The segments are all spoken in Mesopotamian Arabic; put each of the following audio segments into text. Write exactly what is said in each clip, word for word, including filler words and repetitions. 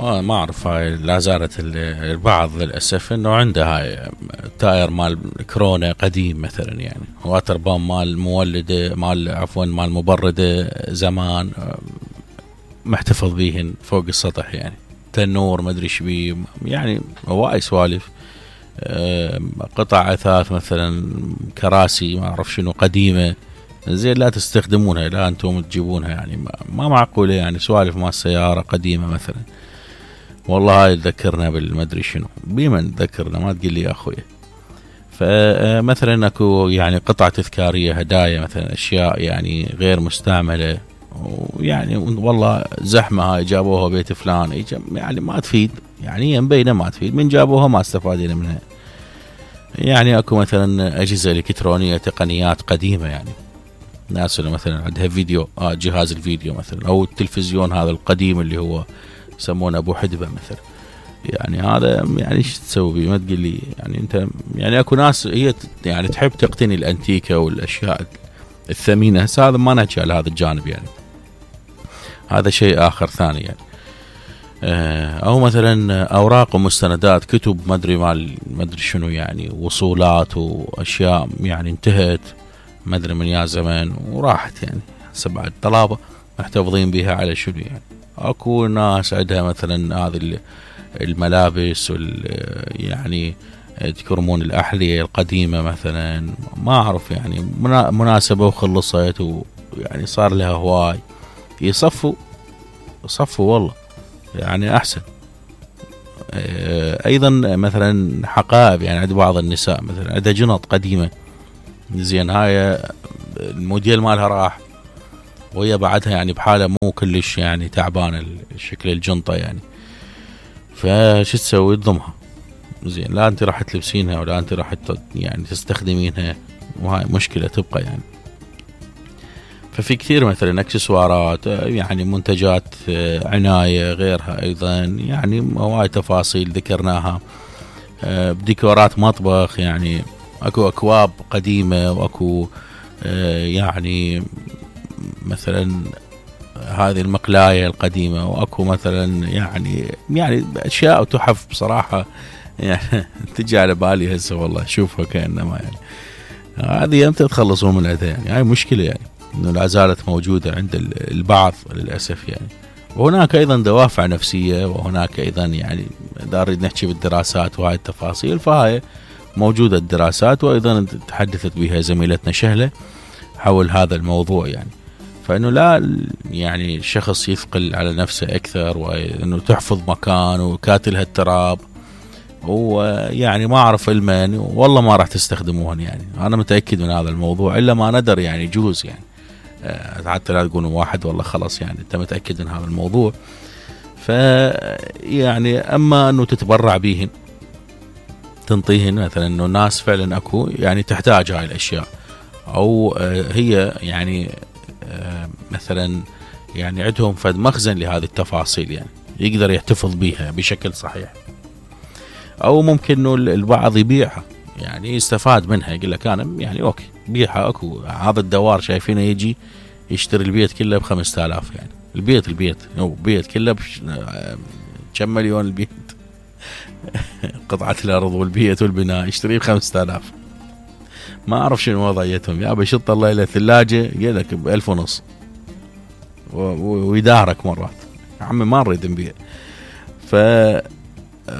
ما اعرف هاي لا زالت البعض للاسف انه عنده هاي تاير مال كورونا قديم مثلا يعني واتر بام مال مولده مال عفوا مال مبرده زمان محتفظ بيهن فوق السطح يعني تنور ما ادري ايش بيه يعني هواي سوالف. قطع اثاث مثلا كراسي ما اعرف شنو قديمه زين لا تستخدمونها لا انتم تجيبونها يعني ما معقوله يعني سوالف مال سياره قديمه مثلا والله هاي تذكرنا بالمدري شنو بمن تذكرنا ما تقول لي يا اخوي. فمثلا اكو يعني قطع تذكاريه هدايا مثلا اشياء يعني غير مستعمله ويعني والله زحمه هاي جابوها بيت فلان يعني ما تفيد يعني هي مبينه ما تفيد من جابوها ما استفادين منها. يعني اكو مثلا اجهزه الكترونيه تقنيات قديمه يعني ناس اللي مثلا عندها فيديو آه جهاز الفيديو مثلا او التلفزيون هذا القديم اللي هو يسمونه ابو حدبه مثلا يعني هذا يعني ايش تسوي بيه ما تقول لي يعني انت يعني اكو ناس هي يعني تحب تقتني الانتيكه والاشياء الثمينه هسه هذا ما نحكي على هذا الجانب يعني هذا شيء اخر ثاني يعني او مثلا اوراق ومستندات كتب ما ادري مال ما ادري شنو يعني وصولات واشياء يعني انتهت ما ادري من يا زمان وراحت يعني هسه بعد طلابه محتفظين بها على شنو يعني. اكو ناس عندها مثلا هذه الملابس وال يعني تكرمون الاحذيه القديمه مثلا ما اعرف يعني مناسبه وخلصت ويعني صار لها هواي يصفوا صفوا والله يعني احسن. ايضا مثلا حقائب يعني عند بعض النساء مثلا عندها جنط قديمه زين هاي الموديل مالها راح وهي بعدها يعني بحاله مو كلش يعني تعبانه شكل الجنطه يعني فش تسوي تضمها زين لا انت راح تلبسينها ولا انت راح يعني تستخدمينها وهاي مشكله تبقى يعني. ففي كثير مثلا اكسسوارات يعني منتجات عنايه غيرها ايضا يعني هواي تفاصيل ذكرناها بديكورات مطبخ يعني اكو اكواب قديمه واكو يعني مثلا هذه المقلايه القديمه واكو مثلا يعني يعني اشياء وتحف بصراحه يعني تجي على بالي هسه والله شوفها كانما يعني هذه امتى تخلصون من عندها يعني هاي مشكله يعني انه لا زالت موجوده عند البعض للاسف يعني. وهناك ايضا دوافع نفسيه وهناك ايضا يعني اذا نريد نحكي بالدراسات وهاي التفاصيل فهاي موجوده الدراسات وايضا تحدثت بها زميلتنا شهله حول هذا الموضوع يعني فانه لا يعني الشخص يثقل على نفسه اكثر وانه تحفظ مكان وكاتلها التراب ويعني ما اعرف المن والله ما راح تستخدموهن يعني انا متاكد من هذا الموضوع الا ما ندر يعني يجوز يعني حتى لا تقولوا واحد والله خلاص يعني انت متاكد من هذا الموضوع. ف يعني اما انه تتبرع بيهن تنطيهن مثلا انه الناس فعلا اكو يعني تحتاج هاي الاشياء او هي يعني مثلا يعني عندهم فد مخزن لهذه التفاصيل يعني يقدر يحتفظ بيها بشكل صحيح او ممكن انه البعض يبيعها يعني يستفاد منها يقول لك انا يعني اوكي بيعها اكو هذا الدوار شايفينه يجي يشتري البيت كله بخمسة آلاف يعني البيت البيت او بيت كله كم مليون البيت قطعة الارض والبيت والبناء يشتريه بخمسة آلاف ما اعرف شنو وضعيتهم يا بشط الله الى ثلاجه قال لك بألف ونص ويدارك مرات يا عمي ما نريد نبيع. ف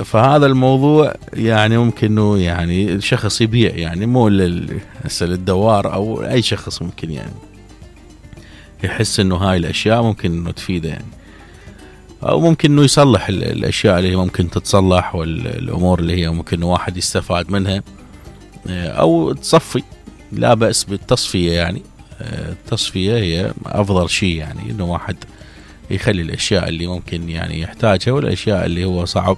فهذا الموضوع يعني ممكن انه يعني الشخص يبيع يعني مو للدوار او اي شخص ممكن يعني يحس انه هاي الاشياء ممكن انه تفيده يعني او ممكن انه يصلح الاشياء اللي ممكن تتصلح والامور اللي هي ممكن واحد يستفاد منها او تصفي لا بأس بالتصفية يعني التصفية هي افضل شيء يعني انه واحد يخلي الاشياء اللي ممكن يعني يحتاجها والاشياء اللي هو صعب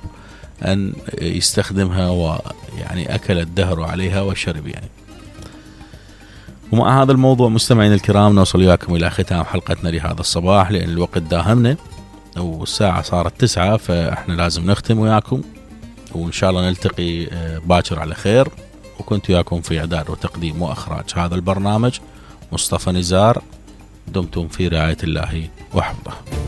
ان يستخدمها ويعني اكل الدهر عليها وشرب يعني. ومع هذا الموضوع مستمعين الكرام نوصل وياكم الى ختام حلقتنا لهذا الصباح لان الوقت داهمنا والساعة صارت تسعة فاحنا لازم نختم وياكم وان شاء الله نلتقي باكر على خير. وكنت وياكم في إعداد وتقديم وإخراج هذا البرنامج مصطفى نزار. دمتم في رعاية الله وحفظه.